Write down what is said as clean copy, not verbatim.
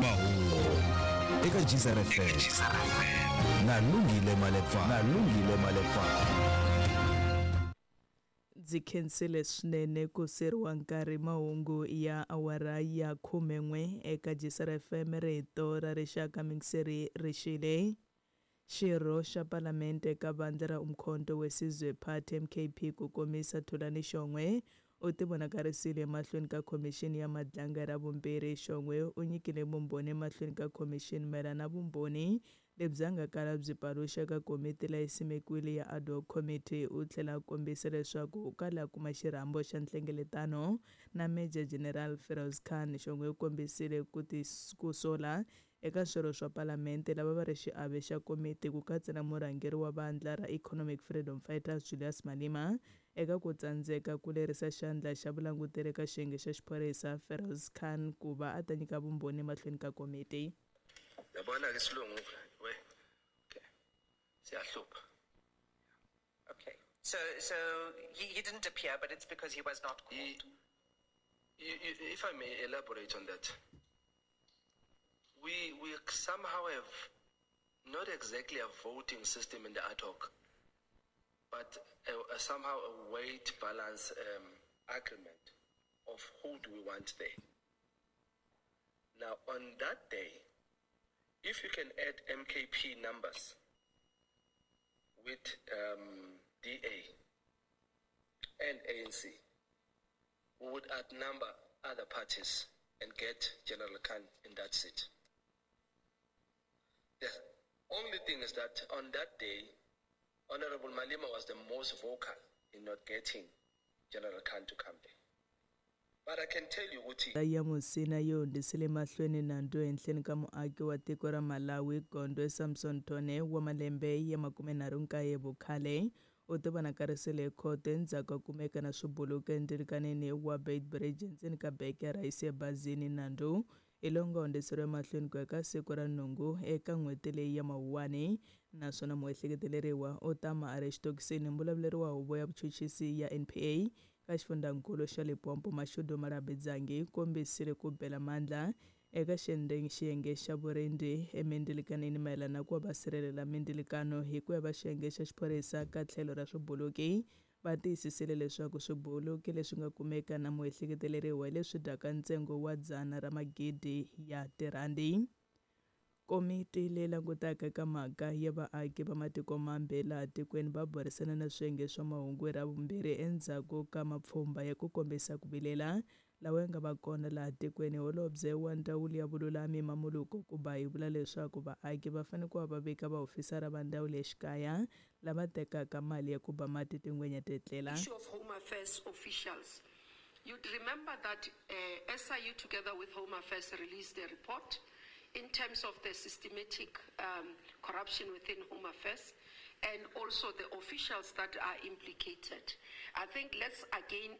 Mahungu eka Geyser FM na Lungile Malepfana. Na Lungile Malepfana. Ndzi khensile swinene ku seriwa nkarhi mahungu ya awara ya khumen'we eka Geyser FM rito ra rixaka mingiseri rixile. Xirho xa Palamente eka vandla ra Umkhonto weSizwe Party, MKP, ku komisa Thulani Shongwe u tivonakarisile emahlweni ka Khomixini ya Madlanga hi Ravumbirhi. Shongwe u nyikile vumbhoni emahlweni ka khomixini mayelana na vumbhoni lebyi a nga kala byi paluxa eka komiti leyi simekiwile ya Ad Hoc Committee. U tlhela a kombisa leswaku u kale a kuma xirhambo xa nhlengeletano na Major General Feroz Khan. Shongwe u kombisile ku ku sola eka swirho swa Palamente lava va ri xiave xa komiti ku katsa na murhangeri wa vandla ra Economic Freedom Fighters Julius Malema eka ku tsandzeka ku lerisa xandla xa vulanguteri eka xiyenge xa xiphorisa Feroz Khan ku va a ta nyika vumbhoni emahlweni ka komiti. Yabona ke isilungu we okay siyahlupha. Okay. So he didn't appear, but it's because he was not called. If I may elaborate on that, we somehow have not exactly a voting system in the ad hoc, but somehow a weight balance agreement of who do we want there. Now, on that day, if you can add MKP numbers with DA and ANC, we would outnumber other parties and get General Khan in that seat. The only thing is that on that day, Honorable Malema was the most vocal in not getting General Khan to come there. But I can tell you ukuthi Ya Musina yi hundzisele mahlweni nandzu ehenhleni ka muaki wa tiko ra Malawi Gondwe Samson Tone wa malembe ya 39 vukhale u tivonakarisile ekhoto endzhaku ka kumeka na swibuluki endzilikaneni wa Beitbridge endzeni ka beke ya rhayisi ebazini. Nandzu hi lowu nga hundziseriwa emahlweni ku ya ka siku ra nhungu eka n'hweti leyi ya Mawuwani naswona muehleketeleriwa u tama a ri exitokisini. Mbulavuleri wa huvo ya vuchuchisi ya NPA ka xifundzankulu xa Limpopo Mashudu Malabidzangi kombisile ku bela mandla eka xiyenge xa vurindzi emindilikanini mayelana na ku va va sirhelela mindzilikano hi ku ya va xiyenge xa xiphorisa ka tlhelo ra swibuluki va tiyisisile leswaku swibuluki leswi nga kumeka na muehleketeleriwa hi leswi dyaka ntsengo wa 100 ra magidi ya tirhandi. Komiti leyi langutaka eka mhaka ya vaaki va matiko mambe laha tikweni va burisana na swiyenge swa mahungu hi Ravumbirhi endzhaku ka mapfhumba ya ku kombisa ku vilela lawa ya nga va kona laha tikweni. Holobye wa ndzawulo ya vululami Mamoloko Kubayi vula leswaku vaaki va fanele ku va va vika vaofisara va ndzawulo ya xikaya lava tekaka mali ya ku ba mati tingwenya tetlela. Issue of Home Affairs officials. You'd remember that SIU together with Home Affairs released a report in terms of the systematic corruption within Home Affairs and also the officials that are implicated. I think let's again